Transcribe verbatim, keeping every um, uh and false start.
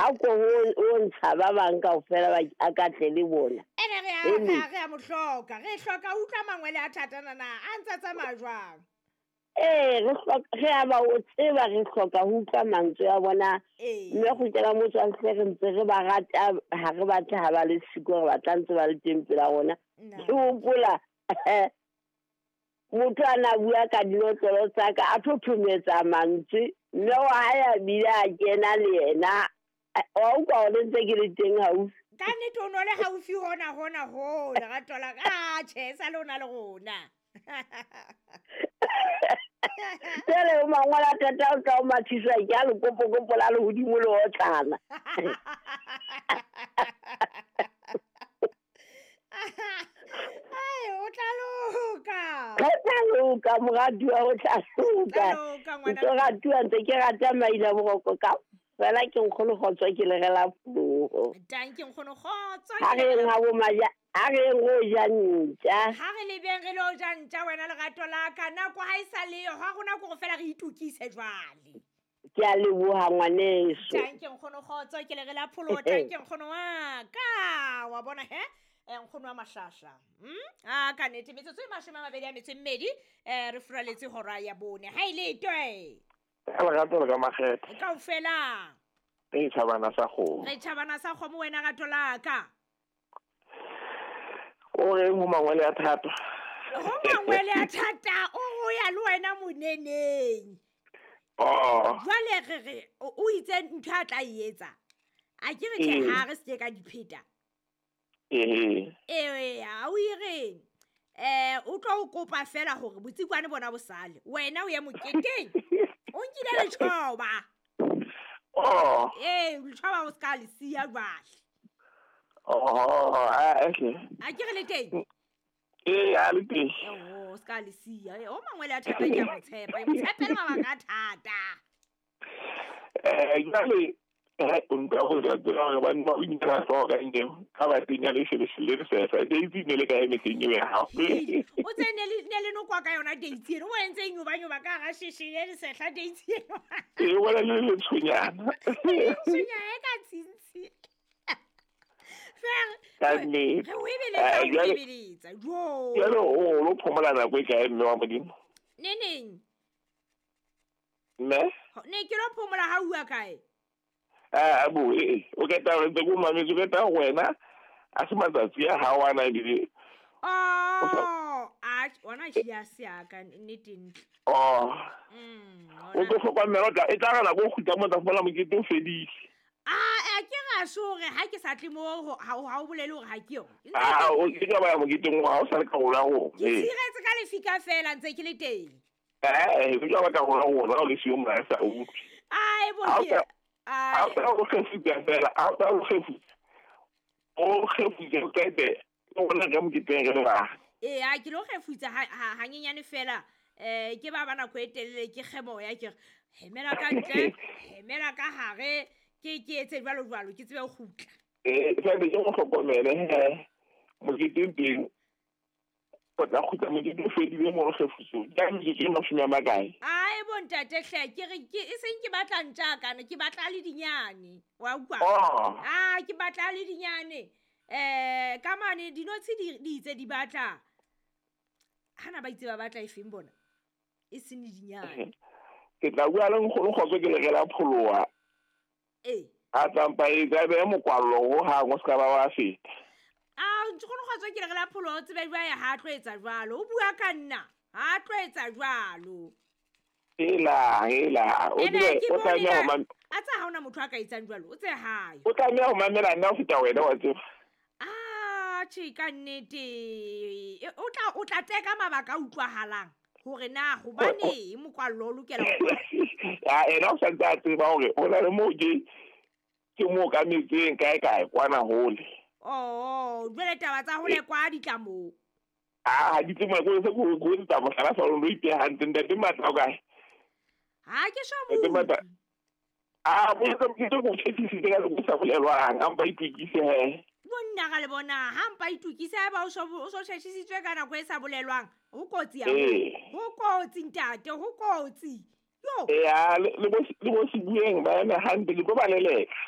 A ko o ntsha ba bang kaofela ba a ka tle le bona. Ene re a re a re a mo hloka. Re hloka ho utlwa mangwele a thata nana. A ntse a tsamaya jwang? Ee, re hloka re a ba o tseba re hloka ho utlwa mantswe a bona. Ee. Mme kgutlela motswalle re ntse re ba rata ha re batle ha ba le siko re batla ntse ba le teng pela rona. Nna. Ke hopola motho a na bua ka dinotlolo tsa ka a thothometsa mantswe mme wa hae a bile a kena le yena. Wa utlwa hore ntse ke le teng haufi. Ka nnete o no le haufi hona hona ho lerato la ka. Ah, tjhe, sa le o na le rona. Jwale o mangolo a thata o tla o mathiswa ke a lekopokopo la lehodimo le otlana. Ai, o tla loka. O tla loka, moratuwa, o tla loka. Tla loka, ngwana. Ntse ratuwa, ntse ke rata maina boroko ka fela ke nkgono kgotso ke le rela puo. Tanki nkgono kgotso. Ha re yeng ha bo maja, ha re yeng ho ja ntja. Ha re lebeng re lo ja ntja wena lerato la ka. Nako ha e sa leyo, ha rona ko fela re itukise jwale. Ke a leboha ngwaneso. Tanki nkgono kgotso ke le rela pholo, tanki nkgono wa ka. Wa bona he? Eh, nkgono wa Mahlahla. Hmm? Ah, ka nnete metsotso e mashome a mabedi a metso e mmedi, eh, re furaletse hora ya bone. Ha e le twe. Ka lerato le ka makgethe. Kaofela. Re tjhabana sa kgomo. Re tjhabana sa kgomo wena rato la ka. O reng ho mangwele a thata? Ho mangwele a thata, o ho ya le wena moneneng. Oh. Jwale re re, o, o itse ntho a tla e etsa. A ke re tjhe, Ee. ha re se ke ka dipheta. Ee. Ee, a o e reng? Eh, o tlo o kopa fela hore botsikwane bona bo sale. Wena o ye moketeng. O nkile letjhoba. Oh. Ee, letjhoba o ska le siya jwale. Oh, ah, okay. A ke re le teng? Ee, a le teng. Oh, o ska le siya. Eh, o mangwele a thata ke a mo tshepa. Ke mo tshepela mabaka a thata. Eh, jwale, eh, o nka ho ja tsela hore banna ba o inkela hlooho ka eng, ka ba tenya le shele le sefa. Daisy ne le kae mehleng eo ya hao? O tse ne le, ne le nokwa ka yona Daisy eno. O entse eng o ba nyoba ka hara sheshe le sehla Daisy eno? Ee, o bona le letshonyana. Letshonyana e ka tshintshi. Fer, Ka nnete. re o ebeletsa, Eh, o jwale ebeletsa. Jo. Jwale o lo phomola nako e kae mme wa Modimo? Neneng? Mme? Ho, ne ke lo phomola ha ua kae? Ah, bo, eh, o keta hore ntse ke o mametse, o keta hore wena a se matsatsi a hao ana ebile. Oh, a, ona ke ya se ya ka, nnete ntle. Oh. Mm, O tlo hlokomela, o tla, e tla re nako o kgutla mo tla fumana mokete o fedile. Ah, eh, ke ra so hore ha ke sa tle mo, ho, ha o, ha o bolele hore ha ke yo. Ntse Ah, ke o ke ka ba ya moketeng wa ha o sa le karolo ya rona. Ke tshiretse ka lefika fela ntse ke le teng. Eh, ke ka ba karolo ya rona, ha o le siyo mona, sa utlwe. Ai, bo Ha o ke sa- Ai. ha o sa o kgefutsa fela, ha o sa o kgefutsa. O kgefutsa, o qete, o bona ka moketeng re le bang. Ee, a ke lo kgefutsa ha, ha, hanyenyane fela. Eh, ke ba ba nako e telele ke kgemoya, ke re, hemela ka ntle, hemela ka hare, ke, ke etse jwalo jwalo, ke tsebe ho kgutla. Eh, jwale ke mo hlokomele he, moketeng teng, o tla kgutla mokete o fedile mo kgefutsong. Ka metsotso e mashome a makae? Ai, bo ntate hle, ke re, ke, e seng ke batla ntja kana, ke batla le dinyane. Wa utlwa? Oh. Ah, ke batla le dinyane. Eh, ka mane dinotshi di, di itse di batla. Hana ba itse ba batla efeng bona? E seng le dinyane. Ke tla bua le nkgono kgotso ke le rela pholoha. Ee. A tsampa e tla beha mokwallo ho hang, o ska ba wa feta. Ah, nkgono kgotso ke le rela pholoha, o tsebe jwale ha tlo etsa jwalo. O bua ka nna, ha tlo etsa jwalo. Ela, ela, o Ene, tsebe, ke o bone tlameha ho na- mam- A tsa ha hona motho a ka etsang jwalo, o tse hae. O tlameha ho mamela nna ho feta wena, wa tseba. Ah, tjhe, ka nnete. E, o tla, o tla teka mabaka a utlwahalang hore na hobaneng mokwallo o lokela ho Ah, ena o sa ntse a tseba hore ho na le moo ke, ke mo ka metseng kae kae kwana hole. Oh, jwale taba tsa hole kwa di tla moo. Ah, ha di tle moo, ke se ko ko etsa mohlala sa lona, o ipeha hantle, ntate Matla o kae? Ha ke sho Ntate mo. Matla. Ah, bo etsa mokete o tshephisitse ka leko sa bolelwang, a mpa itokise he. Monna ka le bona, ha mpa itokise, haeba o so, o so tshephisitswe ka nako e sa bolelwang, ho kotsi haholo. Ee. Ho kotsi ntate, ho kotsi. Yo. Ee, ah, le, le bo, le bo Sebueng ba eme hantle, ke tlo ba leleka.